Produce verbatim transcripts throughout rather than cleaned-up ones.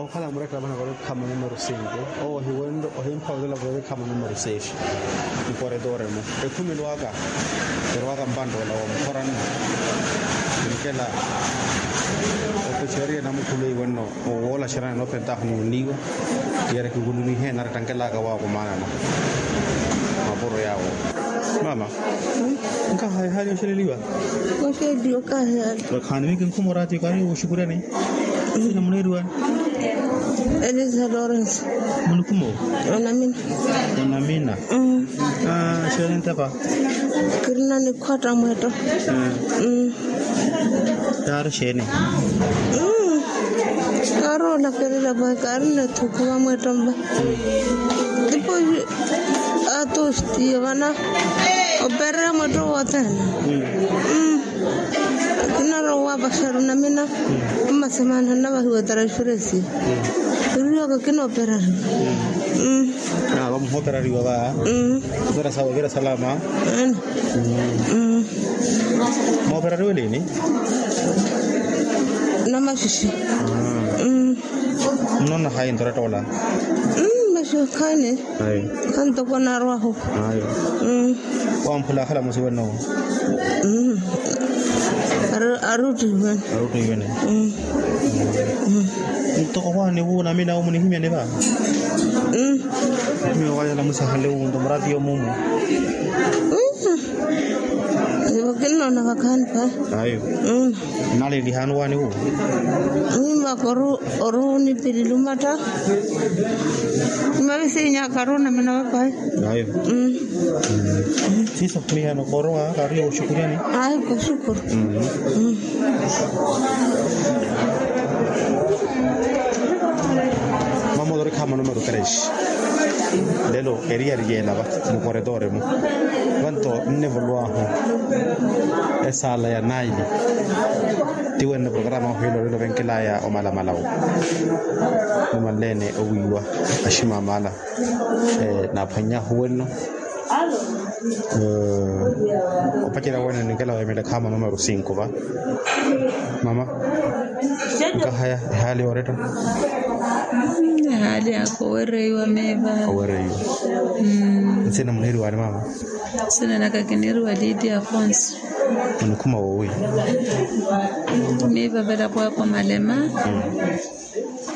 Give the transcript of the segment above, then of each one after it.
Okhala murettela vana varekhama numero sinku. Owo ohiwenle ohimpha wetela varekhama numero sesi. Nkoretoremo ekhumelo aka erowaka mpantoola wa mukhorani. Nkela opexeriye namukhume iwenno owoola xerani noopentahu nuniiwa. Yari kikulumihe nari tankelaka waakumanana. Mapuro yawo mama. Nkahaya hali oxeleliwa. Oxeliwa kahaya. Khaani miki nkhumo rati kari oxukuryani. Sina muneeriwani. Elisa lawrence. Munikhumo. Onamina. Onamina. Xeeni ntapa. Kirina nikhwatta mweetto. Taari xeeni. Kaari olakelela vahi kaari netthukuva mweetto mva. Tipoxi atostiyo vana opereya mweetto wothene. Kinarowa vaxaru namina. Mmasemana navahiwa taraxuresi. Iriwaka kinooperariwa. Vamuhooperariwa va. Opera sawa opera salama. Mooperariwe lini? Namaxixi. Mnona hayi ntorettoola? Maxixi khani. Khantoko narwahu. Wamphula akhala musiwene nowo. Aruttiwene. Aruttiwene. Ntoko khwani wu namina wu munihimyani va? Miyo wayala musahale wu nto murati yomumu. Ivo kinnoona vakhaani va. Ayo. Nalelihani wani wu? Mimaka oru oru nipilili omatta. Mavisinyaka oru namina vapahi. Ayo. Siiso mihano korowa kariyo oxukuryani. Ayo koxukuru. Mama otori khama numero tres. Lelo eriyari yeela va mukoretoremo. Vanto nnevuluwahu esaala ya naili. Tiwene programa ohiila olelo venkelaya omalamalawo. Nimanleene owiiwa aximamala. Naaphwannyahu wenno. Opacerya wene ninkela wemele khama numero cinco va. Mama. Nkahaya ehaali yooretta. Ehaali yaka owereiwa miiva. Owereiwa. Nsina muneeriwani mama? Nsina naka kineeriwa lidia afonso. Onikhuma woowi? Miiva velapo ako malema.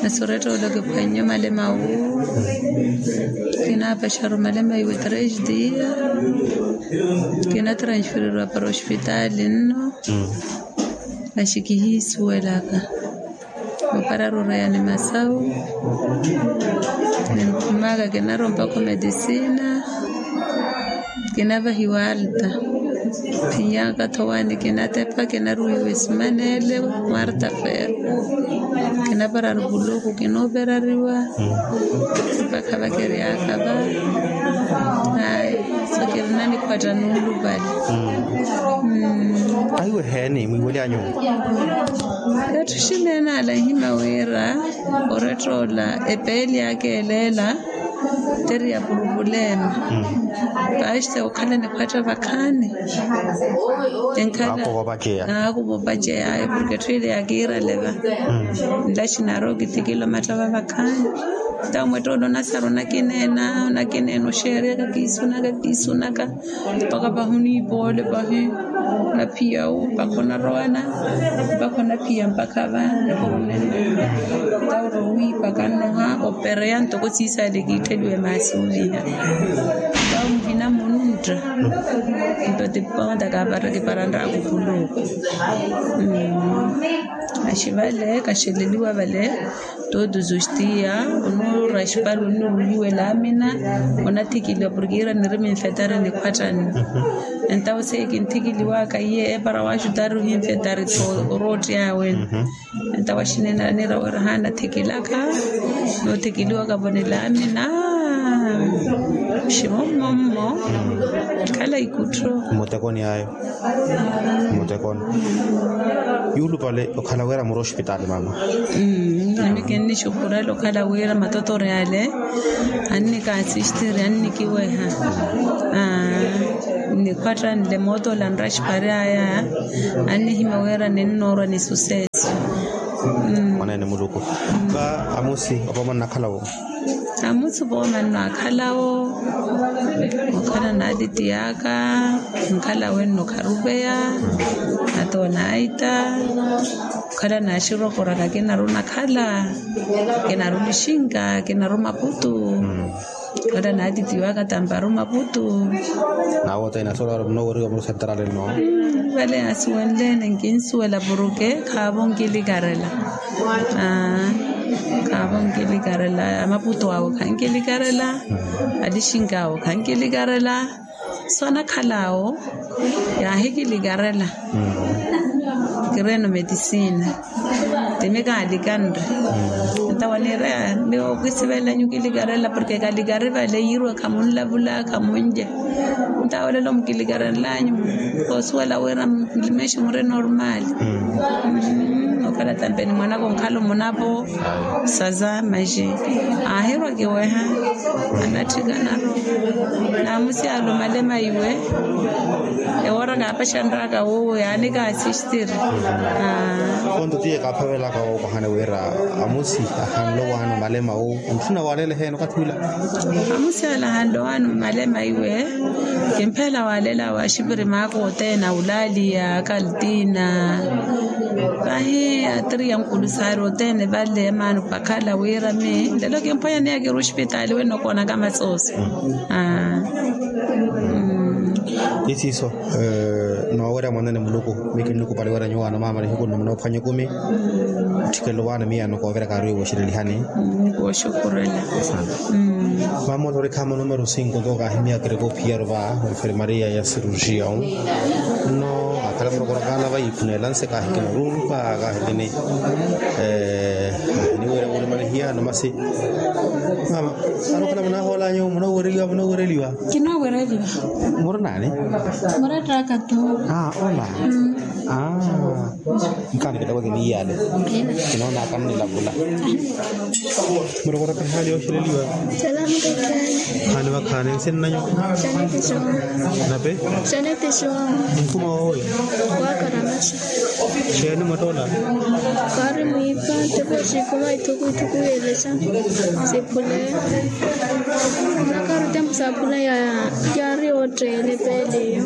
Nasi orettoola kiphwannye omalema wu. Kinaapaxaru malema iwe tres dia. Kinatransfereriwa para ospitaali nno. Masi kihiisuwelaka. Opararu oreya ni masawu. Ninkhumaka kinarompaka omedisina. Kinavahiwa alta. Khinyaka thowani kinatepa kinaruwiwa esimanele. Quarta feira. Kinapararu vuluku kinooperariwa. Mpakha vakeryaka va. Ayi. So kirina nikhwatta nuulupale. Ahiweheeni mwiiwelyanyu. Etthu xineena ala nhima wira orettoola epeeli aka eleela. Teriya purupulema. Paste okhala nikhwatta vakhaani. Enkhala akuvopaceya. Akuvopaceya ayo porke etthu ile yakiirale va. Nlaxinari okithikila omattava vakhaani. Ntawo mwettoolo onasaru onakineena onakineena oxeereyaka kiisunaka kiisunaka. Mpakha pahi oniipoole pahi. Onaphiya wu mpakha onarowana. Mpakha onaphiya mpakha va. Ntawo orowiipaka nnoha opereya ntoko siisaale kiittheliwe maasi oviha. Mpakha onvina mununtta. Nto tiponta kaapara kiparantta akupuluku. Axi vale kaxeleliwa vale. Todos os dias onuura axipale onuruwihiwa elaamina. Onathikiliwa porke iira nirimi nfetari nikhwattani. Entawo seiye kinthikiliwaka iye epara waxutari ohinfetari tho orootti awe. Entawo axineenala niira wira haanathikilaka. Noothikiliwaka vo nilaamina. Ximommo mmo. Khala ikuttho. Mmutekoni ayo. Mmutekoni. Yuulupale okhala wira muri ospitaali mama. Ami kinnixukhurela okhala wira matotori ale. Annikasistiri annikiweha. Nnikhwatta nle mootoola nraxipari aya. Annihimya wira ninnoorwa ni suseso. Mwaneene muluku. Va amusi opoma nnakhala wo? Amusi opoma nnakhalawo, okhala n'atiti aka, nkhala wenno kharupeya, ata onaita, okhala naxirokoraka kinaru nakhala, kinaru nixinka, kinaru maputu. Ora naatitiwaka tamparu maputu. Naawooteene asoolaaro munooweriwa murusentarale nno. Vale asiwenleene nkinsuwela puruke khaavo nkilikarela. Khaavo nkilikarela amaputu awo khankilikarela. Alixinka awo khankilikarela. Swanakhala awo yaahikilikarela. Kireno metisina. Timi kaalikanre. Ntawa niireya miyo kisivelenyu kilikarela porke kalikari vale yiirwe khamunlavula khamunje. Ntawa olelo mukilikarenlanyu koosuwela wira mulimeshi muri normal. Okhala tampeni mwanaka onkhala omunavo. Saza maxi aahirwa kiweha. Anatthikanaru. Naamusi alumalema iwe. Ewora kaapaxanraka wuwo yaani kaasistiri. Ponto tiye kaaphavelaka woopahani wira amusi ahanle owaani omalema wu. Ntthuna waaleela eheeni okathi wila. Amusi ale ahanle owaani omalema iwe. Kimphela waaleela waaxipiri maaka oteene awulaaliya akaltina. Vahi atiri ya nkulusaari oteene vale maani opakhala wira mi lelo kimphwanya niya kiri ospitaali wenno koonaka masooso. Isiiso. Noowerya mwanene muluku. Miyo kinnukupali wira nyuwaano maamala ihiku nno munoophwanya ekumi. Tthikelo waani miyaano kooviraka ari wooxirelihani. Kooxukurela. Mamola orikhaama numero sinko tookaahimiyaka erepophiyaru va enfermaria ya cirurgion. Nno akhala murokoro kaana va iiphuneela nse kaahikina rurupa kaahikini. Niwira wulimalihiya nomasi. Mama, arokhala munahoolanyu munoowereliwa munoowereliwa. Kinoowereliwa. Muri naani? Murettaka tu. Ola. Nkaani kittoko kiniiyale. Kinoonaka nnilavula. Murokoroka ehaali yooxeleliwa. Haali vakhaani nsi nnanyu? Nape? Nkuma woowi? Xeeni mwattoola? Kaari mwiipa tepo xiikuma ithuku ithuku yeelexa. Siphule. Nakaari tempu saaphula yaari ootteene peeliyo.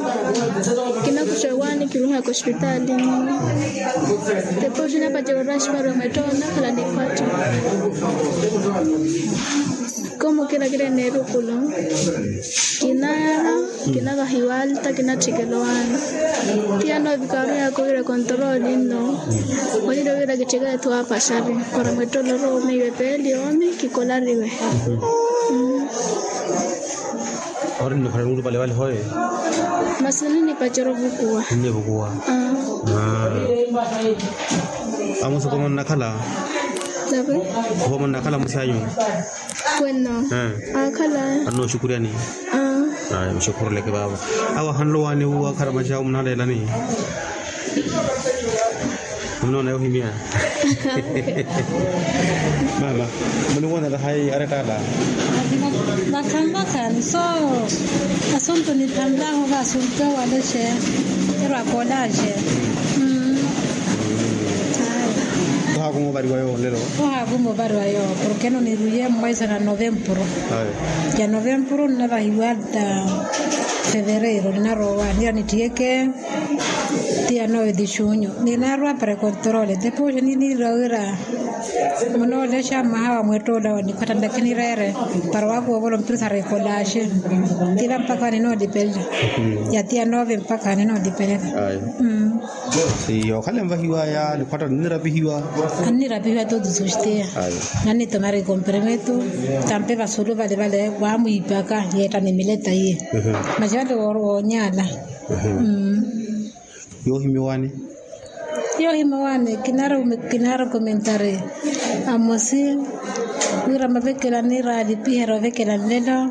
Kinakuxa owaani kiruhaka ospitali. Tepo xinapacela oraxi para mwettoola nakhala nikhwattu. Komu kirakira neerukulo. Kinaara. Kinavahiwa alta kinatthikela owaani. Tiya noovika aruyaaka owira kontoroli nno. Onira owira kitthikela ethu aapaxari para mwettolo oroomi iwe peeli oomi kikolariwe. Ori nnikhwela nulupale vale hoye. Masi ninipacera ovukuwa. Ninnivukuwa. Amusi opoma onnakhala? Opoma onnakhala amusi anyu? Wenno. Aakhala. Anooxukuryani? Muxukhuruleke vaavo. Awo ahanle owaani wuwo akharamaxa awo munaleelani? Munoona yohimya. Mama, muniwonela hayi arettaala? Vakhanvakhani so asuntu nithanlahu va asuntu ewalexe. Erwakolaxe. Ohaakuma ovariwa yoowo nlelo? Ohaakuma ovariwa yoowo porke eno niruye mmwaiza na novempuru. Ya novempuru nnavahiwa ta fevereiro nnarowa nira nitthiyeke. Tiya nowe ti xunyu ninaarwa para ekontorole tepo oxe niniira wira munoolexa mmaha wa mwettoola wa nikhwatta nlakhi nireere para wakuwa ovolo mpirisa rekolaxe. Tila mpakha ninoolipelele. Ya tiya nove mpakha ninoolipelele. Iyo okhale nvahiwaya nikhwatta nnirapihiwa. Annirapihiwa totu suxteya. Nannitomari komperemetu tampe vasulu vale vale wamwiipaka yeetta nimileta iye. Maxi vale woonyala. Yoohimiwaani. Yoohimiwaani kinaari komentari amosi wira mavekela niraalipiherya ovekela nlelo.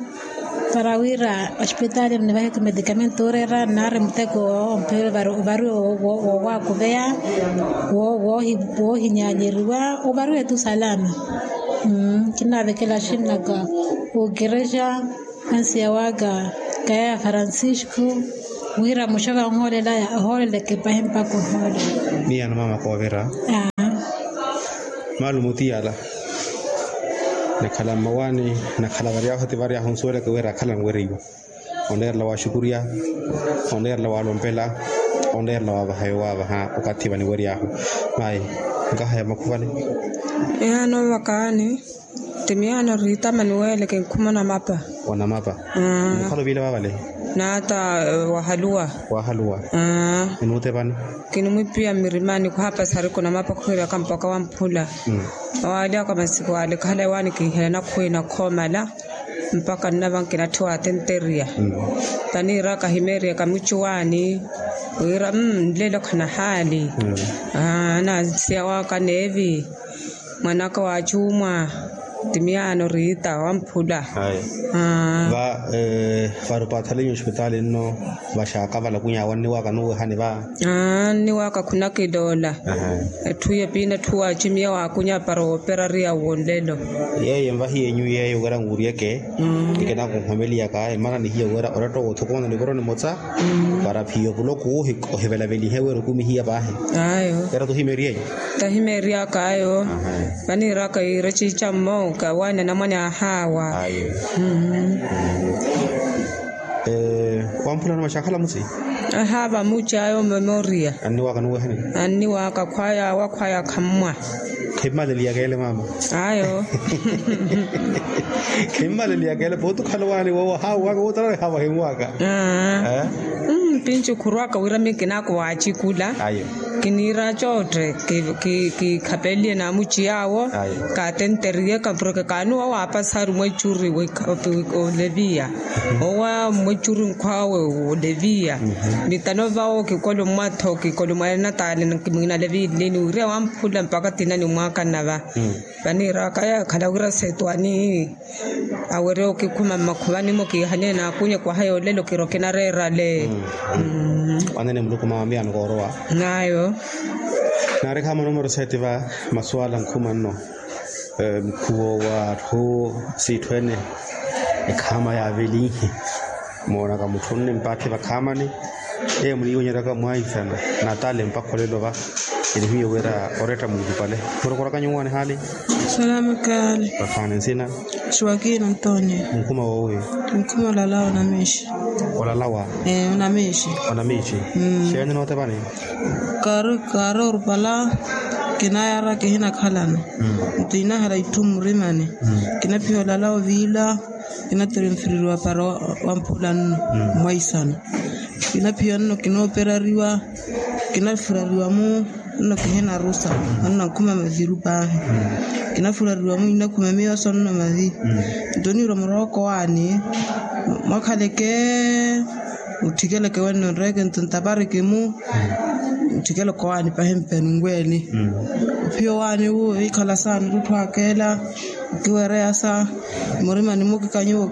Para wira ospitaali nnivaheke medicamento ooreera nnaari muteko omphiyelo ovariwe woowakuveya woohinyanyeriwa ovariwe tu salama. Kinnaavekela axinnaka okerexa ansiya waka kaya ya francisco wira muxaka onhoolelaya ohooleleke pahi mpaka ohoola. Miyano mama koovira. Malumu ti yala. Nakhala mmawaani, nakhala varyahu ti varyahu nsuweleke wira akhala anwereiwa. Oneerela waxukurya, oneerela walompela, oneerela wavaha yowavaha okathi vaniweryahu. Mayi, nkaha ya makhuvale. Miyaano vakaani. Ti miyaano riitama niweele kinkhuma onamapa. Onamapa. Mukhala oviile vavale. Naata wahaluwa. Wahaluwa. Enuutepani. Kinimwipiya mmirimani khuhapasari kunamapa khuhiraka mpaka wamphula. Awalyaka masiku ale khahala ewaani kinhela nakhuwina khoomala. Mpaka nnava nkinatthiwa atenteriya. Paniiraka himeeriyaka mucuwaani. Wira nlelo khanahaali. Anansiya waka neevi. Mwanaka wa acumwa. Ti miyaano riita wamphula. Va vari opathalinyu ospitaali nno. Vaxaaka valakunya awo anniwaaka nuwehani va. Anniwaaka khunakiloola. Etthu yepiina etthu waacimiya waakunya para wooperariya wonlelo. Yeeyo envahi yenyu yeeyo wira nwuuryeke. Nkinakunhomeliyaka emana nihiya wira oretta woothokona nivoro nimotsa. Para phiyo puloku ohivelavelihe wira okumihiya paahi. Ayo. Era tuhimeeriyenyu. Tahimeeriyaka ayo. Vaniiraka iira ciicammo kawaani anamwane ahaawa. Ayo. Wamphulano maxakhala mutsi. Ahaava muci ayo memoriya. Anniwaaka nuwehani. Anniwaaka khwaya awa khwaya khammwa. Khimmaleliyaka ele mama. Ayo. Khimmaleliyaka ele pooti okhala owaani wowo ahaawaka wootara ahaava himwaaka. Pinci khurwaka wira mikinako waacikula. Ayo. Kiniira cootte kikhapeliye naamuci yaawo. Kaatenteriye kampureke kaanuwa waapasari mwecuri oleviya. Owa mwecuri nkhwawe oleviya. Mitano vawo kikolo mmatho kikolo mwanataale kimwinale viilini wiriya wamphula mpaka tina nimwaakana va. Vaniiraka yaakhala wira setwani. Awerya okikhuma mmakhuvani-mo kiihanyeye naakunye kwaha yoolelo kiro kinareerale. Wanene muluku mama miyano koorowa. Nayo. Naari khaama numero seti va masuwala nkhuma nno. Mukhuvo wa atthu siitthu ene ekhaama yaavelinhe. Moonaka mutthu onne mpatthi vakhaamani. Eyo muniiwonyeryaka mwaisana. Natale mpakha olelo va. Enihiyo wira oretta muulupale. Murokoraka nyuwaani haali. Salamu kaali. Vakhaani nsina. Suwakina ntoni. Nkhuma woowi. Nkhuma olalawa onamiixi. Olalawa. Onamiixi. Onamiixi. Xeeni nootepani. Kaari kaari orupala. Kinaayara kihinakhalana. Nto inahera itthu mmurimani. Kinaphiya olalawa oviila. Kinattiri nfiririwa para wamphula nno. Mwaisana. Kinaphiya nno kinooperariwa. Kinafurariwa-mu. Nno kihinarusa. Nno nkhuma maviru paahi. Kinafurariwa-mu inakhuma miyoso nno mavi. Nto niirwa murooko waani. Mwakhaleke. Mutthikeleke wenno nreeke nto ntapareke-mu. Mutthikeleke owaani paahi mpeni nweeni. Ophiya owaani wu wiikhala saani otthu akeela. Okiwereya sa murimani-mu okikanyiwa.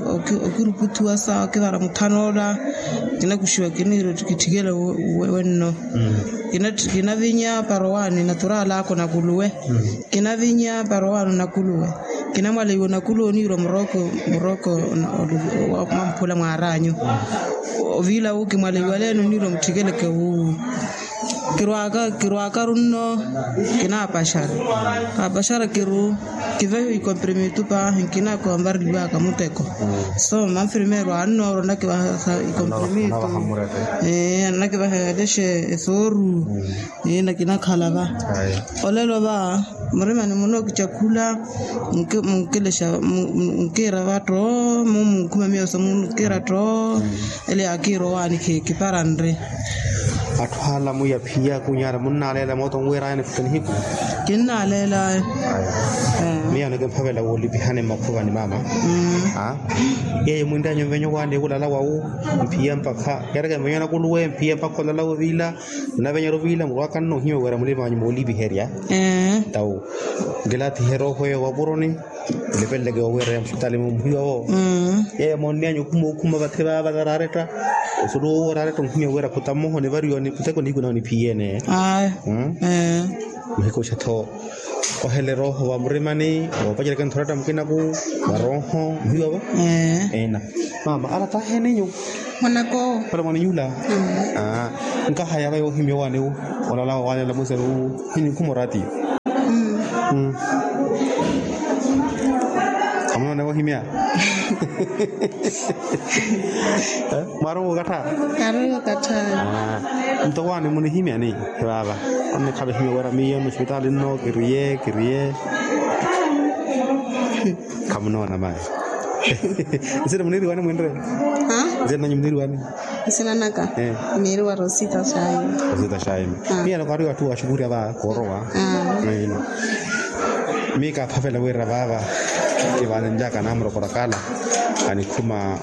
Okiruputhuwa sa okivara muthan'ola. Kinakuxiwa kiniira otthu kitthikele wenno. Kinavinya para owaani natural'aka onakuluwe. Kinavinya para owaani onakuluwe. Kinamwaleiwa onakuluwe oniirwa murooko murooko. Mwamphula mwaar'anyu. Oviila wu kimwaleiwaleeni oniirwa mutthikeleke wuwu. Kirwaka kirwakaru nno. Kinaapaxara. Kaapaxara kiru kivehiwa ikomprimitu paahi nkinakonvareliwaka muteko. So manfirmeru annooro anakivaha ikomprimitu. Anakivaha elexe esooru. Nakinakhalla va. Olelo va murimani muno kicakhula. Munkelexa munkiira va tto. Mumunkhuma miyoso munkiira tto. Ele akiira owaani kiparanre. Atthu ala mwiya phiya kunyala munnaleela mooto nwirayani futta nihiku. Kinnaleela. Miya anokimphavela woolipihani mmakhuvani mama. Yeeyo mwintanyu mvenyo waani wulala wawu. Mphiya mpakha yareke mvenyo nakuluwe mphiya mpakha olala woviila. Nnavenyeryo viila murwaka nno ohiwe wira mulimanyu moolipiherya. Tawu nkilathihe erooho eyo wapuroni. Nipeleleke owiira ya musipitaali muhiwavo. Yeeyo moonneyanyu okhuma okhuma vathi vava nararetta. Osulu wowo oraretta onhiwe wira khuta mmoha onivariwa muteko nihiku nawe niphiyene. Muhikuxa tho. Ohela erooho va murimani. Woopacerya kenthu oratta mukinaku. Varooho muhiwavo. Ena. Mama ala taheninyu. Mwanako. Pala mwaninyu ula. Nkahaya va yoohimya owaani wu. Olala owaani ala mwiseru wu. Hini nkhuma oratiyo. Khamunoona wohimya. Mwaari okattha. Kaari okattha. Nto waani munihimyani vaava? Onnikhavehimya wira miyo nusipitaali nno kiriye kiriye. Khamunoona mayi. Nsina muniiriwani mwinre? Nsina nanyu muniiriwani? Nsina naka. Miiriwa rosita shaima. Rosita shaima. Miya nakaari wattu washukuriya va koorowa. Miika aphavela wira vaava kivaanenlyaka namurokorakala anikhuma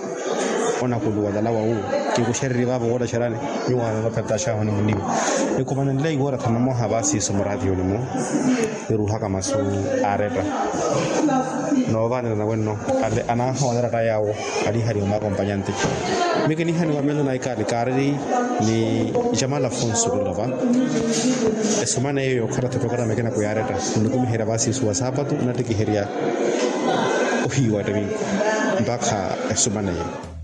onakuluwa lalawa wu. Kikuxererye vaavo woottaxerani. Nyuwo ananopheretta xaahu ni muniiwa. Nikhumanenleyi woorattha mmoha va siiso muraatiyoni-mu. Niruuhaka masu aaretta. Noovanerya nawenno ale anaahowanera tta yaawo. Alihariwa maakompanyanti. Mikinihaniwa meno na ikaali kaariri ni jamala afonso kilova. Esumana eyo yookhala tha programu ekina kuyaaretta nikumiherya vaasiisu wa saapatu nattikiherya ohiiwa ettimi. Mpakha esumana eyo.